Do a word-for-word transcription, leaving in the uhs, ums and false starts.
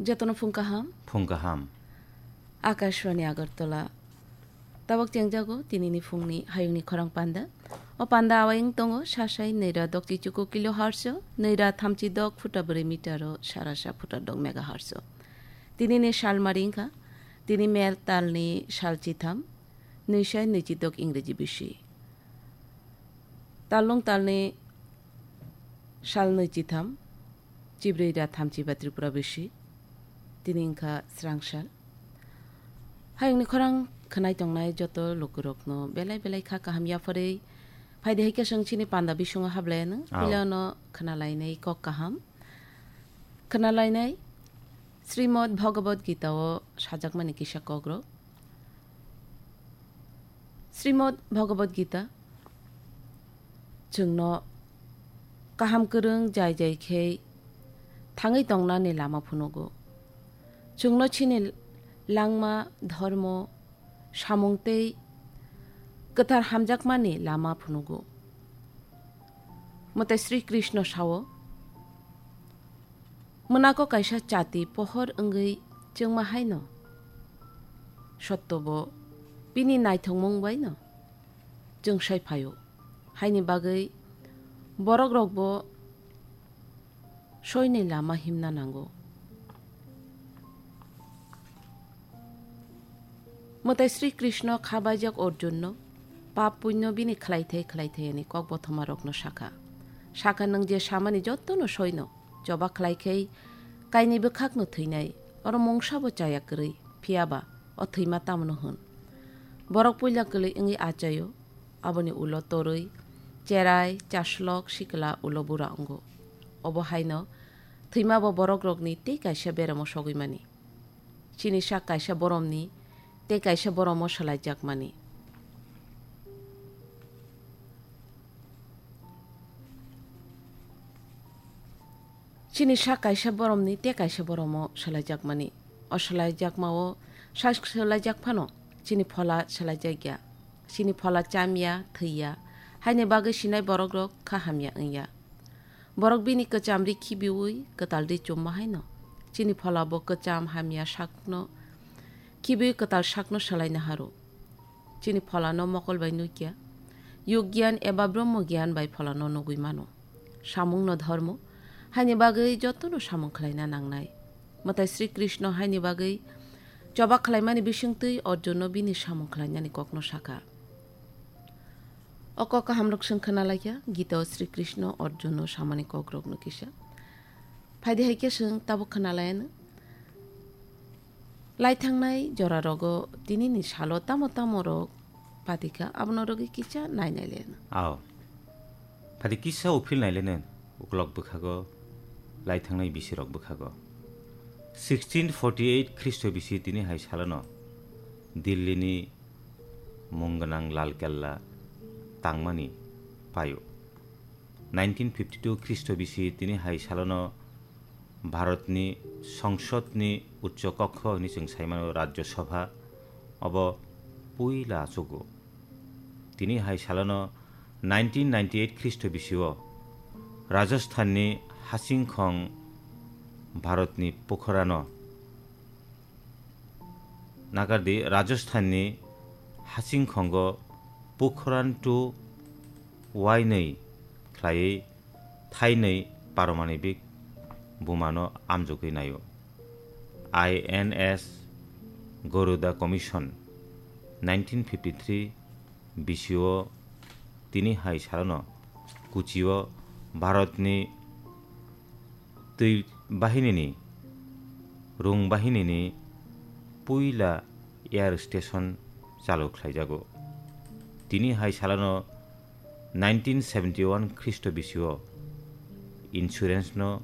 Jotono phung kaham. Phung kaham. Akashvani Agartala. Tabok chengjago tinini phungni hayungni khorang panda. O panda awayung tongo sasai neira dokchi chuku kilohertz, neira thamchi dok phuta bwrwi meter o sarasa phuta dok megahertz. Tinini salmari wngkha, tini mel talni sal chitham, nwisai nwichi dok Ingreji bisi. Talnung talni sal nwi chitham, chibrwi ra thamchi ba Tripura bisi, tini wngkha srang sal. Hayungni khorang khwnai tongnai joto lukurokno belai belai kha kaham yapharwi. Phaidi hai khe chwng chini panda bisingo hablaianw, Ao. Puilano khwnalainai kok kaham. Khwnalainai Srimad Bhagavad Gita o sajakmani kisa kokrok. Srimad Bhagavad Gita chwngno kaham kwrwng jai jai khe thangwi tongnani lama phunugo. Chwngno chini langma, dhormo, samung tei kwthar hamjakmani lama phunugo. Mwtai Sri Krishna sao, Mwnako kaisa chati pohor wngwi chwngma haino sottobo bini naithokmung baino chwngsai phaio. Haini bagwi borokrokbo soini lama himna nango. Mwtai Sri Krishna kha baijak Arjunno pap punyo bini khlaithai khlaithai ani kok bothomarokno sakha. Sakha, nwng je samani jotono soino, choba khlai khai kainwi bwkhakno thwinai, oro mungsabo chaya kwrwi, phiyaba o thwima tamono hwn. Borok puila kwlwi wngwi achaio, aboni ulo torwi, cherai, chaslok, sikla, ulo bura wngo. Obo haino thwimabo borokrokni tei kaisa beramo sogwi mani. Chini sak kaisa boromni tei kaisa boromo swlaijakmani. Chini sak kaisa boromni tei kaisa boromo swlaijakmani. O swlaijakmao sak swlaijak phano chini phola swlaijakya. Chini phola chamya, thwiya. Haini bagwi sinai borokrok kha hamya wngya. Borok bini kwcham ri khibiui kwtal ri chumma haino chini phola bo kwcham hamya sakno khibiui kwtal sakno swlaina haro. Chini pholano mokol bai nukya, yug gyan eba brahmo gyan bai pholano nugui mano. Samungno dhormo, haini bagwi jotono samung khlaina nangnai. Mwtai Sri Krishna haini bagwi choba khlaimani bisingtwi Arjunno bini samung khlainani kokno sakha. O kok kahamrok chwng khwnalaikha, Gita o Sri Krishna Arjunno samani kokrokno kisa. Phaidi hai khe chwng tabuk khwnalaiyano. Laithangnai jorarogo tinini salo tamo tamo rok patikha, abono rwgwi kisa nainai leno. Ao. Phaidi kisa uphil naileno, uklok bwkhago, laithangnai bisirok bwkhago. Sixteen forty-eight Khristo bisi tini hai salono Dillini mung gwnang Lal Kella tangmani paio. Nineteen fifty-two Khristo bisi tini hai salono Bharatni Songsodni Uccho Kokho hwnwi chwng saimano Rajya Sabha, obo puila achugo. Tini hai salono nineteen ninety-eight Khristo bisio Rajasthanni Hasingkhong Bharatni Pokhorano Nagardi, Rajasthanni Hasingkhongo Pokhran two wainwi khlaiwi thainwi paromanibik bumano amjogwi naio. I N S Garuda Commission nineteen fifty-three bisio tini hai salono Kochio Bharatni twi bahinini, rung bahinini puila air station chalu khlaijago. Tini hai salano nineteen seventy-one Khristo bisio insurance no